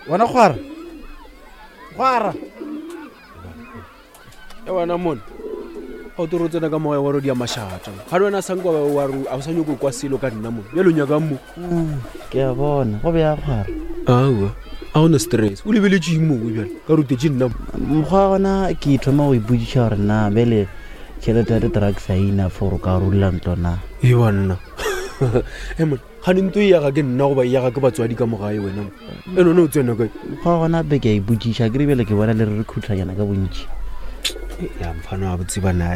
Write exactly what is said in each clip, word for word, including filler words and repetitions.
Wena kgwara. Kgwara. E wena mone ga o toro tsena ka moya wa rodi ya mašata ga le wena sanka wa re a o sa nyako kwa selo ka nna mo bjalo nyakang mo. Ke a bona go bea kgwara. Aowa a gona stress o lebeletse eng mowe bjale ka rutetse nna mo. Mokgwa wa gona ke thoma go ipodiša gore na bele tšhelete ya di-drugs a ina for o ka rula ntlo na. E banna e mone gane nto e yaga ke nna goba e yaga ke batswadi ka mogae wena mo e none o tsena kae. Mokgwa wa gona be ke a ipodiša ke re bjale ke bona le re re khutlhanyana ka bontši. Ya mfana wa botse bana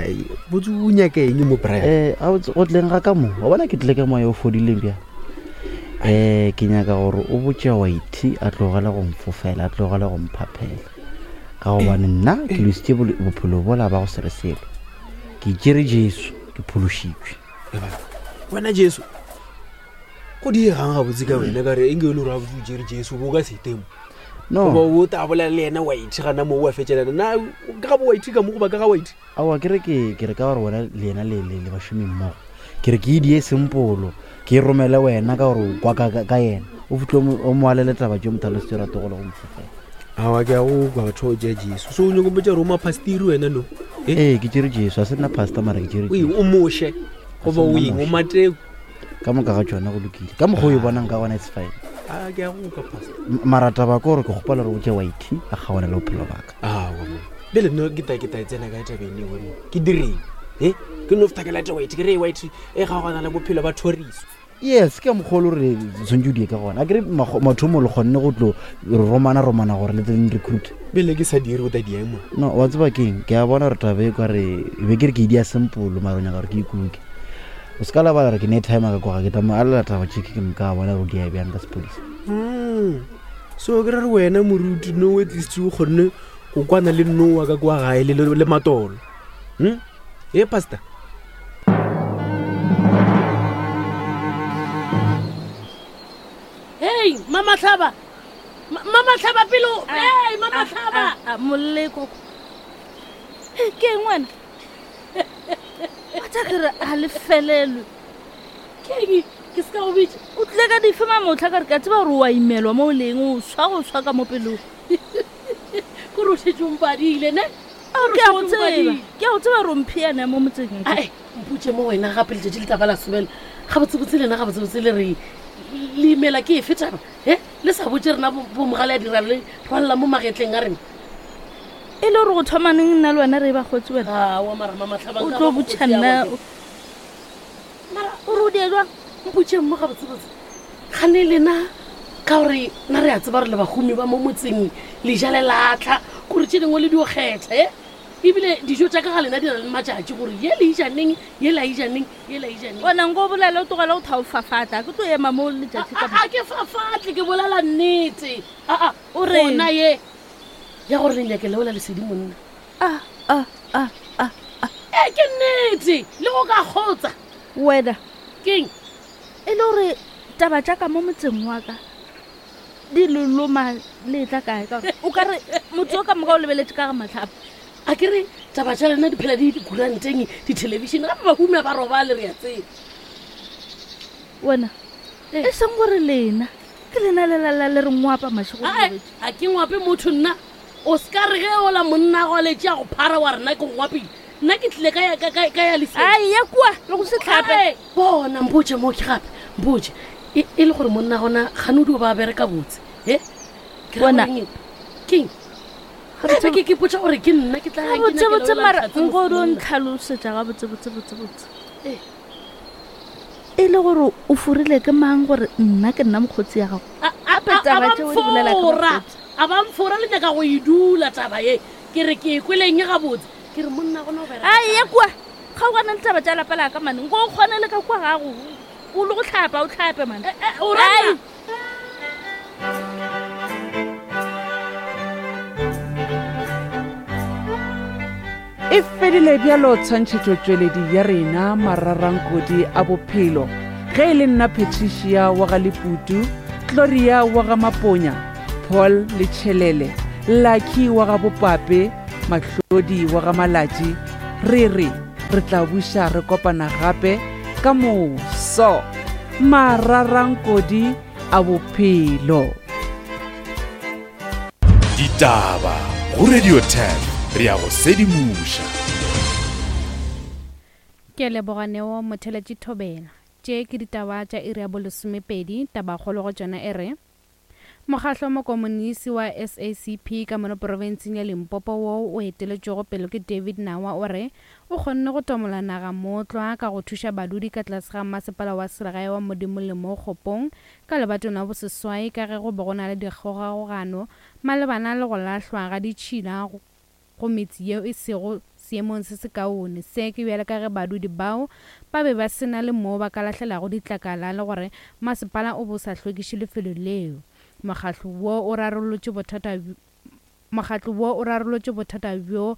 botse o nyaka eng mo Brian? Eh a botse go tleng ga ka mo wa bona ke tlile ka moya o fodileng bjang. Eh ke nyaka gore o botse Whitey a tlogele go mfofela a tlogele go mphaphela ka gobane nna ke lositse bophelo bola ba go se re selo. Ke tšere Jesu ke phološitšwe. Wena Jesu go diegang gabotse ka wena ka re enge e le gore gabotse o tšere Jesu bo ka se temo. No. Goba o ta bolela le yena Whitey gana moo wa fetšelana na ka ga bo Whitey ka mo goba ka ga Whitey? Aowa ke re ke ke re ka gore wena le yena le le le bašomi mmogo. Ke re ke e die sempolo ke e romele wena ka gore o kwa ka, ka, ka yena o fihle o mo alele taba tše mothalositse o rate go le go mfofela. Aowa ke a go kwa batho ba o tšea Jesu so o nyako mpotša gore o mapastiri wena no? Eh? Ee ke tšere Jesu a se nna pastor mara ke tšere O eng, Jesu. o moshe goba o eng, o Mateo? Ka moka ga tšona go lokile ka mokgwa o e bonang ka gona it's fine. A ke a go kwa pastor. M-, mara taba ke gore ke kgopela gore o tše Whitey a kgaogane le bophelo ba ka. Aowa mo bjale nna ke ta ke ta e tsena kae tabeng eo mo ke direng e ke no feta ke late Whitey ke re Whitey e kgaogana le bophelo ba thoriso. Yes ke mokgwa o le gore tshwanetse o die ka gona a kere mathomo le kgonne go tlo romana romana gore le tle recruit. Bjale ke sa dire o ta di ema. No wa tseba keng ke a bona gore taba e kwa re be ke re ke e dia simple mara o nyaka gore ke ikuke. O se ka lebala gore ke ne time ka kwa ga ke tla mo alela taba tše ke moka a bona gore di a bjang ka sepodisa. Mm. So ke re re wena moruti no at least o kgonne go kwana le Noah ka kwa gae le, le, le matolo. Hmm? E pastor. Hey, Mama Tlhaba. Ma-, Mama Tlhaba pelo. Hey, Mama Tlhaba. A, a, molle koko. Hey, ke eng wena? Wa tsa ke re a le felelwe. Ke eng? Ke se ka go bitša. O tlile ka dife mamotlha ka re ke a tseba gore o a imelwa mo o leng, o swa go swa ka mo pelong. Ke re o šetše o mpadile, ne? Ao, Ke ke a re o go šetše o tseba. mpadile. Ke a go tseba gore o mpheana mo motseng. Ai, mpotše mo wena gape letšatši le tla ba la sobela. Gabotsebotse lena, gabotsebotse le re le imela ke efe taba? He? Le sa botše rena bo, bo mogale a dira le rwalela mo magetleng a rena. E le gore go thoma neng nna le wena re e ba kgotse wena? Aowa, mara Mama Tlhaba, O nka tlo ba botša mokgotsi ya nna gagwe. Mara o re o die jwang? Mpotšeng mo gabotsebotse. Gane lena ka gore nna re a tseba gore le bahumi ba mo motseng le ja le latlha kore tše dingwe le dio kgetha e ebile dijo tša ka ga lena di na le matšatši gore ye le ija neng, ye la ija neng, ye la ija neng. Wena nko o bolele o tlogele go thaofafatla, ke tlo ema mo letšatši ka A, a, a ke fafatle, ke bolela nnete. A, a, O reng? gona ye ya gore le nyake leola lesedi monna. A, a, a, a, a. E ke nnete le go ka kgotsa. Wena. Keng? E le gore taba tša ka mo motseng wa ka di le loma le tla kae ka gore o ka re motho o ka moka o lebeletse ka ga matlhapa. A ke re taba tša lena di phela di dikuranteng, dithelebišene, gape bahumi ha ba robale re a tseba. Wena, Eh. e seng gore lena ke lena le lala le re ngwapa mašego Ae, robetše. a ke ngwape motho nna. O se ka re ge ola monna go a letše a go phara wa rena ke go ngwapile. Nna ke tlile ka ya, ka, ka, ka ya lesedi. Ai, ya kua, le go se tlhape. Ae, bona, mpotše mo ke gape, mpotše. E, e le gore monna gona gane o dio ba bereka botse, he? Ke ra Bona. goreng eng? Keng? Gabotse- Gape ke, ke ipotša gore ke nna ke tla yang ke Gabotse nyakela botse ola mara Lehlatse nko o dio monna. ntlhalosetša gabotse botse botse botse. Eh. E le gore o forile ke mang gore nna ke nna mokgotsi ya gago? A, a, Gape a, a taba ba tšeo di bolela ke mfora. bakgotsi. A ba mfora le nyaka go e dula taba ye. Ke re ke e kweleng gabotse. Ke re monna gona o bereka Ai, ya kae? kua. Kgaogana le taba tša lapa la ka mane. Nko o kgone le ka kua gago. O le go tlhapa, o tlhape mane. Eh, eh, o ra Ai. nna? E fedile bjalo tshwantšhetšotšweledi ya rena mararankodi a bophelo. Ge e le nna Patricia wa ga Leputu, Gloria wa ga Maponya, Paul Letšhelele, Lucky wa ga Bopape, Mahlodi wa ga Malatši, re re re tla buša re kopana gape ka moso. Mararankodi a bophelo. Ditaba go Radio ten re ya go sedimoša. Ke leboga Neo Motheletši Thobela. Tše ke ditaba tša iri ya bolesomepedi, tabakgolo go tšona e re mokgahlo wa mokomonisi wa S A C P ka mono profenseng ya Limpopo wo o eteletšwego pele ke David Nawa o re o kgonne go tomola naga mootlwa ka go thuša badudi ka tlase ga masepala wa selegae wa Modimolle mo Kgopong ka lebatong la boseswai ka ge go be go na le dikgogakgogano malebana le go lahlwa ga ditšhila go metse yeo e sego seemong se sekaone. Se ke bjale ka ge badudi bao ba be ba sena le moo ba ka lahlelago ditlakala le gore masepala o bo sa hlwekiše lefelo leo. Mokgatlo wo o rarolotše bothata mokgatlo wo o rarolotše bothata bjo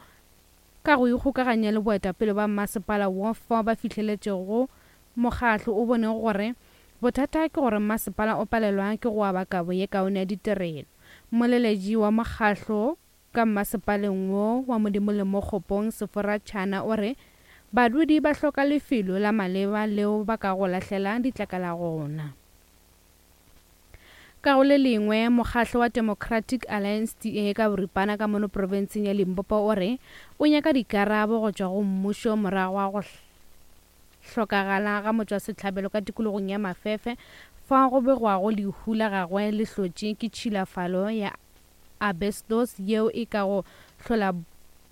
ka go ikgokaganya le boetapele ba masepala wo fao ba fihleletšego mokgatlo o bone gore bothata ke gore masepala o palelwa ke go aba kabo ye kaone ya ditirelo. Moleletši wa mokgatlo ka masepaleng wo wa Modimolle mo Kgopong Sefora Tšhana o re badudi ba hloka lefelo la maleba leo ba ka go lahlela ditlakala gona. Ka go le lengwe, mokgatlo wa Democratic Alliance D A ka boripana ka mono profenseng ya Limpopo o re o nyaka dikarabo go tšwa go mmušo morago ga go hlokagala ga motšwasehlabelo ka tikologong ya Mafefe fa go begwago lehu la gagwe le hlotše ke tšhilafalo ya asbestos yeo e ka go hlola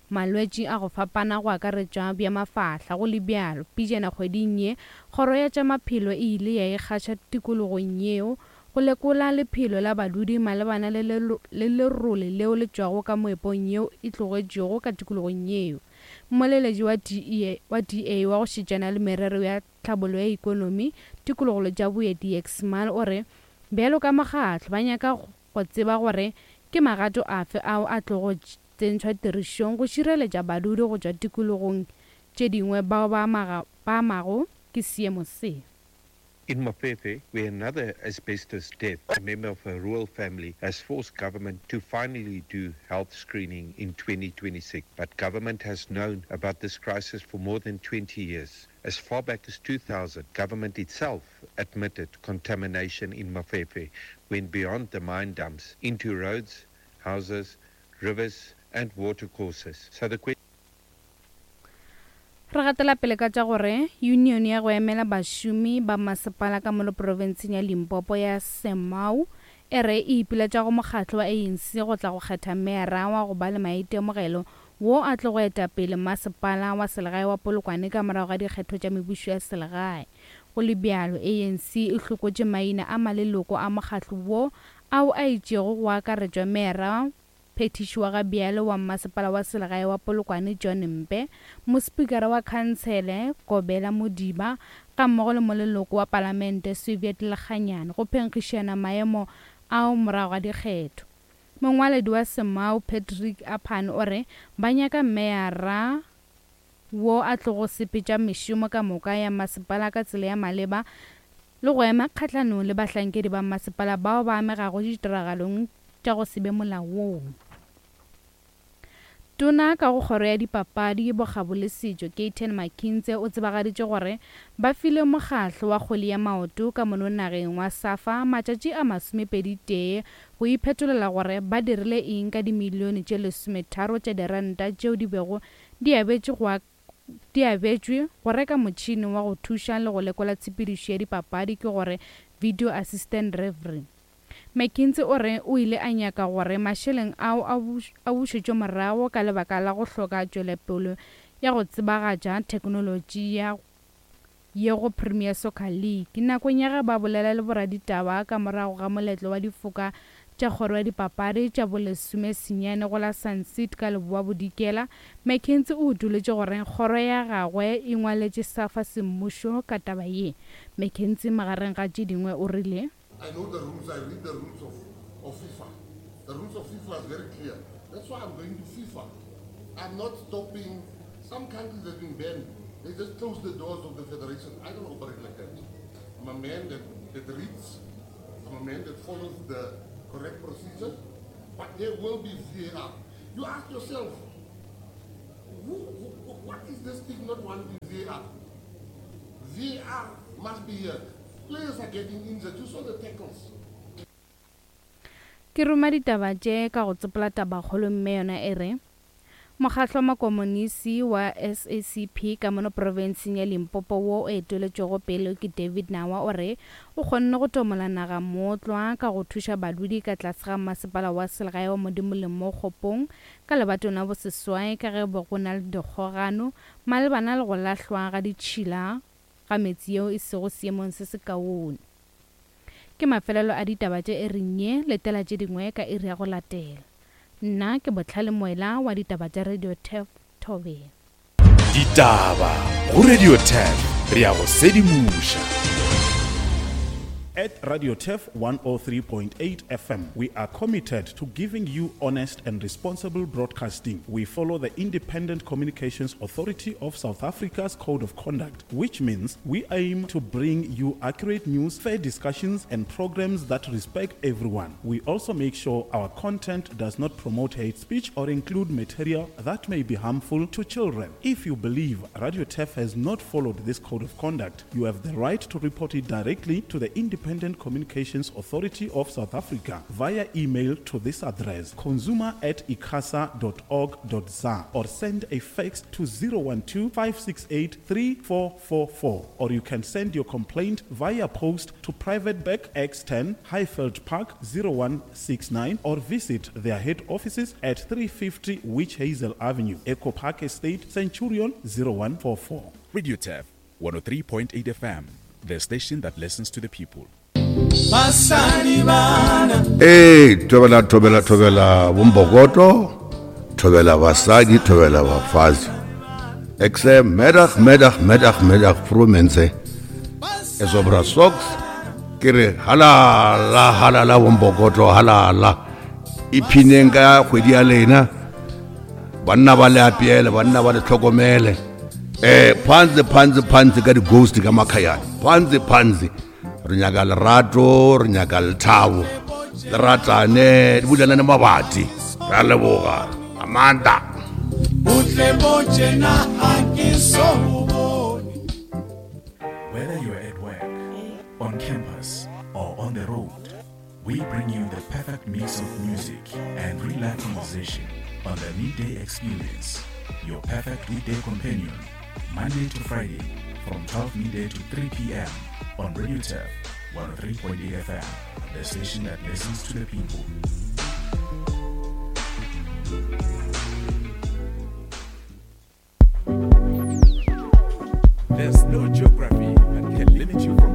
malwetši a go fapana go akaretšwa bja mafahla. Go le bjalo, pejana kgweding ye kgoro ya tša maphelo e ile ya ikgaša tikologong yeo go lekola lephelo la badudi malebana le lerole leo le tšwago ka moepong yeo e tlogetšwego ka tikologong yeo. Mmoleledi wa D A wa go šetšana le merero ya tlhabollo ya ikonomi tikologolo tša boeti Exmal o re bjalo ka mokgatlo ba nyaka go tseba gore ke magato afe ao a tlogo tsentšhwa tirišong go šireletša badudi go tšwa tikologong tše dingwe bao ba amago ke seemo se. In Mafefe, where another asbestos death, a member of a rural family, has forced government to finally do health screening in twenty twenty-six. But government has known about this crisis for more than twenty years. As far back as two thousand, government itself admitted contamination in Mafefe went beyond the mine dumps into roads, houses, rivers, and watercourses. So the question Re gatela pele ka tša gore union ya go emela bašomi ba masepala ka mono profenseng ya Limpopo ya Semau e re e ipiletša go mokgatlo wa A N C go tla go kgetha meera wa go ba le maitemogelo wo a tlo go eta pele masepala wa selegae wa Polokwane ka morago ga dikgetho tša mebušo ya selegae. Go le bjalo, A N C e hlokotše maina a maleloko a mokgatlo wo ao a itšego go akaretšwa meera phethiši wa ga bjale wa masepala wa selegae wa Polokwane John Mpe, mospikara wa khansele Kobela Modiba ga mmogo le moleloko wa palamente Soviet Lekganyane go phenkgišana maemo ao morago ga dikgetho. Mongwaledi wa Semau Patrick Apan o re ba nyaka meyara wo a tlogo sepetša mešomo ka moka ya masepala ka tsela ya maleba le go ema kgahlanong le bahlankedi ba masepala bao ba amegago ditiragalong tša go se be molaong. Tona ka go kgoro ya dipapadi bokgabo le setšo Gayton McKenzie o tsebagaditše gore ba file mokgatlo wa kgwele ya maoto ka mono nageng wa SAFA matšatši a masomepedi tee go iphetolela gore ba dirile eng ka dimilione tše lesometharo tša diranta tšeo di bego di abetšwe go di abetšwe go reka motšhene wa go thuša le go lekola tshepedišo ya dipapadi ke gore video assistant referee. McKenzie o re o ile a nyaka gore mašeleng ao a bušetšwe morago ka lebaka la go hloka tšwelopele ya go tsebagatša theknolotši ya ye go Premier Soccer League. Nakong ya ge ba bolela le boraditaba ka morago ga moletlo wa difoka tša kgoro ya dipapadi tša bolesomesenyane go la Sun City ka Leboa Bodikela, McKenzie o utoletše gore kgoro ya gagwe e ngwaletše SAFA semmušo ka taba ye. McKenzie magareng ga tše dingwe o rile I know the rules, I read the rules of, of FIFA. The rules of FIFA is very clear. That's why I'm going to FIFA. I'm not stopping. Some countries have been banned. They just close the doors of the federation. I don't operate like that. I'm a man that, that reads. I'm a man that follows the correct procedure. But there will be V A R. You ask yourself, who, who, what is this thing not wanting V A R? V A R must be here. Players are getting injured. You saw the tackles. Ke ruma ditaba tše ka go tsopola tabakgolo mme yona e re mokgatlo wa makomonisi wa S A C P ka mono profenseng ya Limpopo wo o eteletšwego pele ke David Nawa o re o kgonne go tomola naga mootlwa ka go thuša badudi ka tlase ga masepala wa selegae wa Modimolle mo Kgopong ka lebatong la boseswai ka ge bo go na le dikgogano malebana le go lahlwa ga ditšhila ga metsi yeo e sego seemong se se kaone. Ke mafelelo a ditaba tše e reng ye letela tše dingwe ka iri ya go latela. Nna ke Botlhale Moela wa ditaba tša Radio Turf Thobela. Ditaba go Radio Turf re ya go sedimoša. At Radio Turf one oh three point eight F M, we are committed to giving you honest and responsible broadcasting. We follow the Independent Communications Authority of South Africa's Code of Conduct, which means we aim to bring you accurate news, fair discussions, and programs that respect everyone. We also make sure our content does not promote hate speech or include material that may be harmful to children. If you believe Radio Turf has not followed this code of conduct, you have the right to report it directly to the Independent Independent Communications Authority of South Africa via email to this address, consumer at icasa dot org dot za, or send a fax to zero one two, five six eight, three four four four, or you can send your complaint via post to Private Bag X ten, Highveld Park zero one six nine, or visit their head offices at three fifty Witch Hazel Avenue, Echo Park Estate, Centurion zero one four four. Radio Turf one oh three point eight F M, the station that listens to the people. Hey, thobela thobela thobela bombokoto, thobela basadi, thobela bafazi. Ek sê middag, middag, middag, middag vroemense. Is op bra socks. Ke re halala halala bombokoto halala. Iphineng ka kgwedi ya lena. Banna ba le apiele, banna ba le tlhokomele. Eh, phansi phansi phansi ka di ghost ka makhayana. Phansi phansi. Re nyaka lerato, re nyaka lethabo. Le ratane, di bulelane mabati. Re a leboga. Amanda. Whether you're at work, on campus, or on the road, we bring you the perfect mix of music and real-life conversation on the Midday Experience, your perfect weekday companion, Monday to Friday from twelve midday to three p.m. on Radio Turf one oh three point eight F M, the station that listens to the people. There's no geography that can limit you from